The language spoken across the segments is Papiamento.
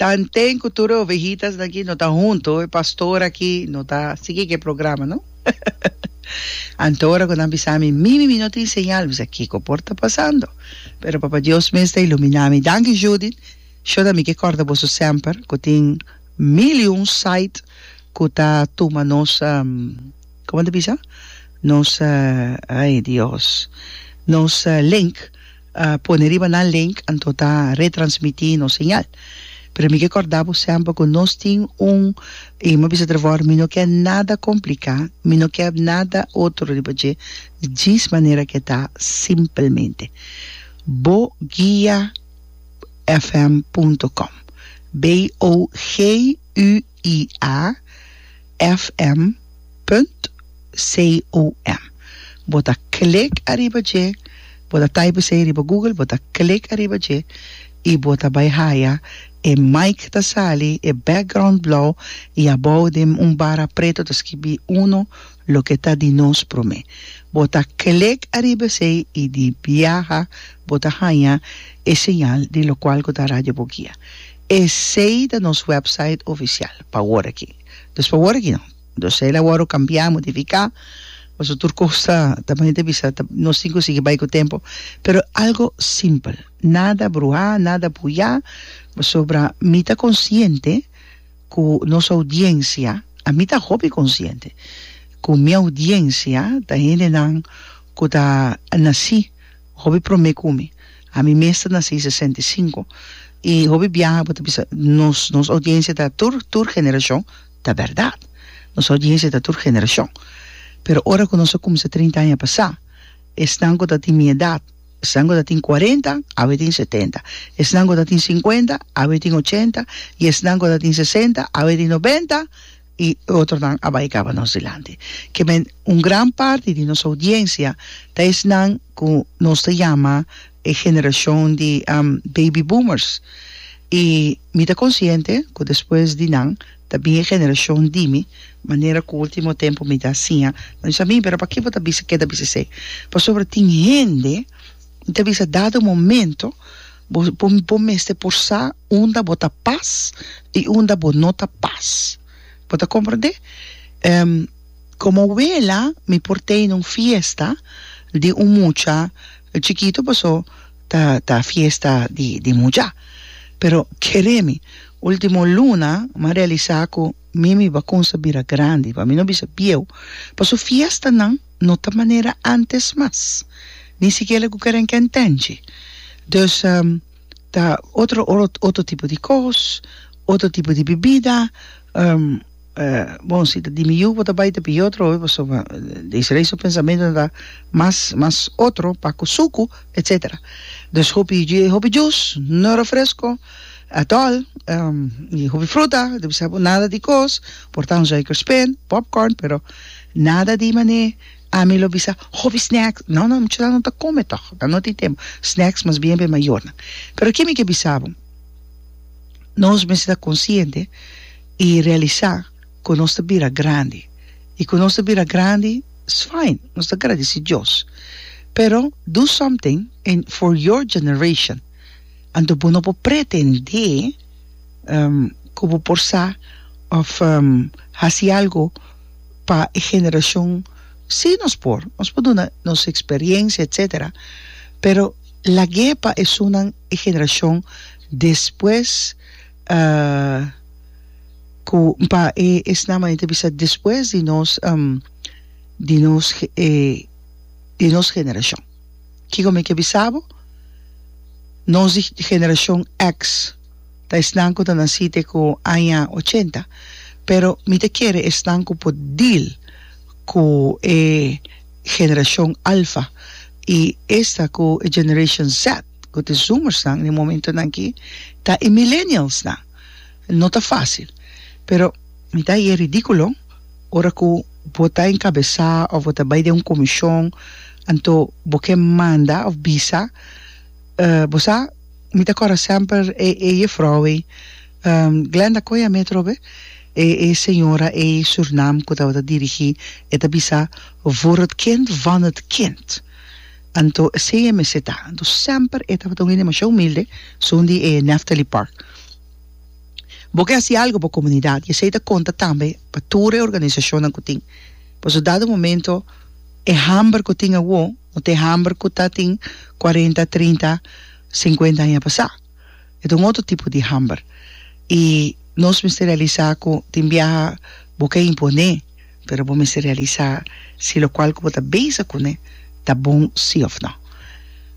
Tanten ku tur e ovejitasnan aki no ta hunto, e pastor aki no ta sigui ku e programa, no? Anto ora ku nan bisa mi, Mimi, mi no tin señal, mi bisa, Kiko por ta pasando? Pero Papa Dios mes ta iluminá mi. Danki, Judith. Shona, mi ke kòrda boso semper ku tin mil i un site ku ta tuma nos, komo ta bisa? Nos, ay Dios, nos link. Pone riba nan link anto ta retransmití nos señal. Pero mi ke kòrda bo semper ku nos tin un, i mi a bisa Trevor, mi no ke nada kompliká, mi no ke nada otro riba dje, djis manera ke ta simpelmente. Bo guia fm punto com, B-O-G-U-I-A fm punt com. Bo ta klik ariba dje, bo ta type esei riba Google, bo ta klik ariba dje i bo ta bai haya e mic ta sali, e background blou i abou den un bara preto ta skibi uno loke ta di nos prome. Bo ta klik ariba esei i di biaha bo ta haya e señal di lokual ku ta Radio Boguia. Esei ta nos website ofisial pa awor aki. Dus pa awor aki no. Dus el a wòrdu kambiá, modifiká, pasobra tur kos ta, ta manera ta bisa, ta, nos tin ku sigui bai ku tempu. Pero algo simpel, nada bruhá, nada buyá, pasobra mi ta konsiente ku nos oudiensia, ami ta hopi konsiente ku mi oudiensia ta hendenan ku ta nasí Hopi promé ku mi. Ami mes ta nasí 65 i hopi biaha bo ta bisa nos nos oudiensia ta tur tur generashon, ta bèrdat nos oudiensia ta tur generashon pero ora ku nos a kuminsá 30 aña pasá esnan ku ta tin mi edat esnan ku ta tin kuarenta awe tin setenta esnan ku ta tin sinkuenta awe tin ochenta i esnan ku ta tin sesenta awe tin nobenta. I otronan a bai kaba nos dilanti. Ke men un gran parti di nos oudiensia ta esnan ku nos ta yama e generashon di baby boomers. I mi ta konsiente ku despues di nan ta bin e generashon di mi, manera ku ultimo tempu mi ta siña. Nan bisa mi, pero paki bo ta bisa keda bisa esei? Pasobra tin hende ta bisa dado momento bo bo mester por sa unda bo ta pas i unda bo no ta pas. Bo ta komprendé? Komo wela mi por tene un fiesta di un mucha chikitu paso ta ta fiesta di di mucha. Pero kere mi, ultimo luna m'a realisá ku mi mi bakunsa bira grandi, pa mi no bisa bieu, paso fiestanan no ta manera antes mas, ni sikiera ku keren kentenchi. Dus ta otro otro tipo di kos, otro tipo di bibida, bon si ta di mi yu bo ta bai ta pidi otro hopi pasobra Desiree su pensamentonan ta mas mas otro pa ku suku etcetera. Dus hopi hopi juice, no refresco at all, y hopi fruta, ta bisa bo nada di kos, por ta un suikerspin, popcorn, pero nada di mane Ami lo bisa, Hopi snacks. No, no, muchanan no ta come toch. Nan no tin tempo. Snacks mas bien pa e mayornan. Pero ke mi ke bisa bo? Nos mester ta consciente y realisa cu nos ta bira grandi. Y cu nos ta bira grandi, it's fine. Nos ta gradeci Dios. Pero do something in for your generation. Anto bo no por pretende cu bo por sa of haci algo. pa e generashon si nos por nos por duna nos experiencia etcetera pero lag'é pa esunnan e generashon despues ku pa e esnan manera ta bisa despues di nos di nos di nos generashon kiko mi ke bisa bo nos di generashon X. Ta esnan ku ta nasí te ku aña ochenta, pero mi ta kere esnan ku por deal ku e generashon alfa i esta ku e generation Z, ku ta e zoomersnan den momentonan aki, ta e millennialsnan. No ta fásil, pero mi ta haña e ridíkulo ora ku bo ta enkabesá òf bo ta bai den un komishon anto bo ke manda òf bisa bo sa. Mi ta kòrda semper e e jefrou ei, Glenda koe a mi atrobe, e e señora ei Surnam ku tabata dirigí, e ta bisa, Voor het kind van het kind. Anto esei e mester ta. Anto semper e tabata un hende masha humilde, esun di e Nephthali Park. Bo ke hasi algu pa komunidat i esei ta konta tambe pa tur e organisashonnan ku tin. Pasobra dado momento e hamber ku tin awo no ta e hamber ku ta tin kuarenta, trinta, sinkuenta aña pasá. E ta un otro tipo di hamber. I nos mester realisá ku tin biaha bo ke imponé, pero bo mester realisá si lokual ku bo ta bezig kuné ta bon sí òf nò.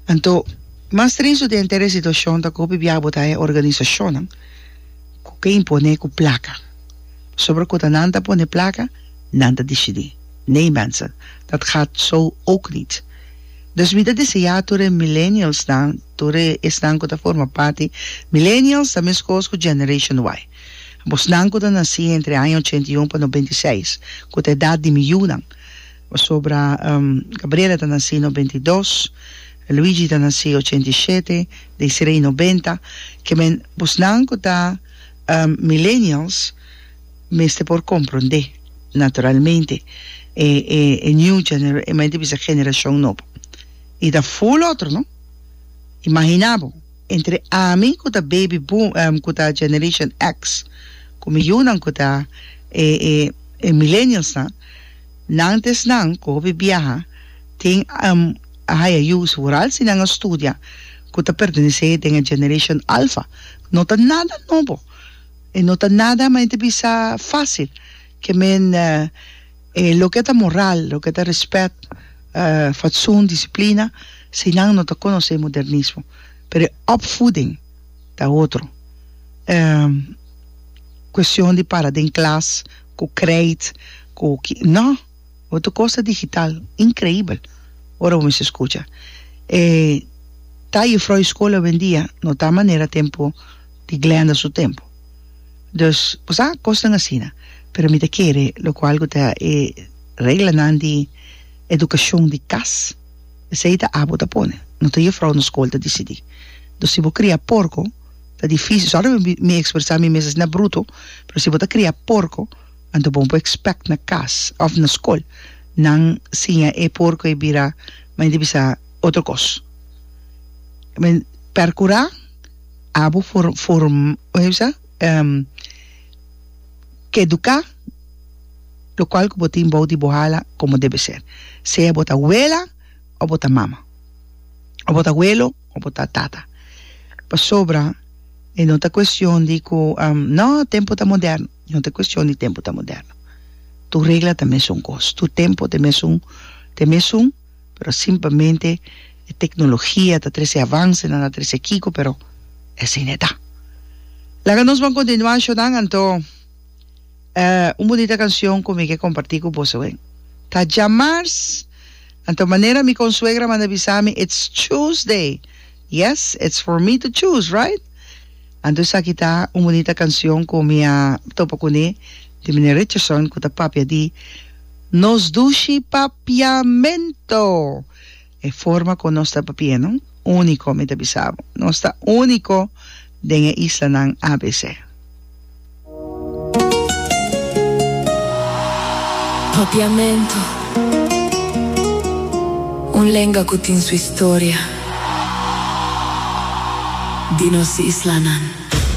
Anto, mas tristu den henter e situashon ta ku hopi biaha bo ta haña organisashonnan ku ke imponé ku plaka. Pasobra ku ta nan ta pone plaka, nan ta disidí. Nee mensen, dat gaat zo ook niet. Dus mi ta deseá tur e millennialsnan, tur e esnan ku ta forma parti, millennials ta meskos ku Generation Y. Bosnan ku ta nasí entre aña 81 pa 96, ku ta edat di mi yunan. Pasobra Gabriela ta nasí 92, Luigi ta nasí 87, Desiree 90. Ke men bosnan ku ta millennials mester por komprondé naturalmente e e e new gener e men ta bisa generashon nobo. I ta ful otro no. Imaginá bo entre ami ku ta baby boom ku ta generation X ku mi yunan ku ta e e e millennialsnan nan ta esnan ku hopi biaha tin a haya yu vooral si nan a studia ku ta pertenesé den e generation alpha. No ta nada nobo. E no ta nada ma e ta bisa fácil. Ke men e loke ta moral, loke ta respet, fatsoen, disiplina, si nan no ta konosé modernismo. Pero e opvoeding ta otro. Kuestion di para den klas ku krijt, ku ki, no. Otro kos ta digital, inkreibel ora bo mester skucha. E ta jufrou di skol awendia no ta manera tempu di Glenda su tempu. Dus, bo sa, kosnan asina. Pero mi ta kere lokual ku ta e reglanan di edukashon di kas, esei ta abo ta pone, no ta jufrou na skol ta disidí. Dus si bo kria porko, ta difísil, sòri mi mi ekspresá mi mes asina bruto, pero si bo ta kria porko, Anto bo por expect na cas of na scol nan siña e porco e bira men di bisa otro cos. Men percura abo for form como bisa keduca locual cu bo tin bou di bo hala como debe ser. Sea bo ta wela of bo ta mama of bo ta welo of bo ta tata. Pasobra e no ta cuestion di cu no tempo ta moderno. No ta cuestion di tempo ta moderno. Tur regla ta mesun cos, tur tempo ta mesun, ta mesun, pero simplemente e tecnologia ta trece avancenan, ta trece kico, pero esey no e ta. Laga nos ban continua shonan, anto un bunita cancion cu mi ke comparti cu boso awe ta djamars, anto manera mi consuegra manda bisa mi, it's Tuesday, yes, it's for me to choose, right? Anto esaki ta un bunita cancion cu mi a topa cune di meneer Richardson cu ta papia di nos dushi papiamento. E forma con nos ta papia no unico mi ta bisa bo. Nos ta unico den e islanan ABC. Papiamento, un lenga cu tin su historia di nos islanan.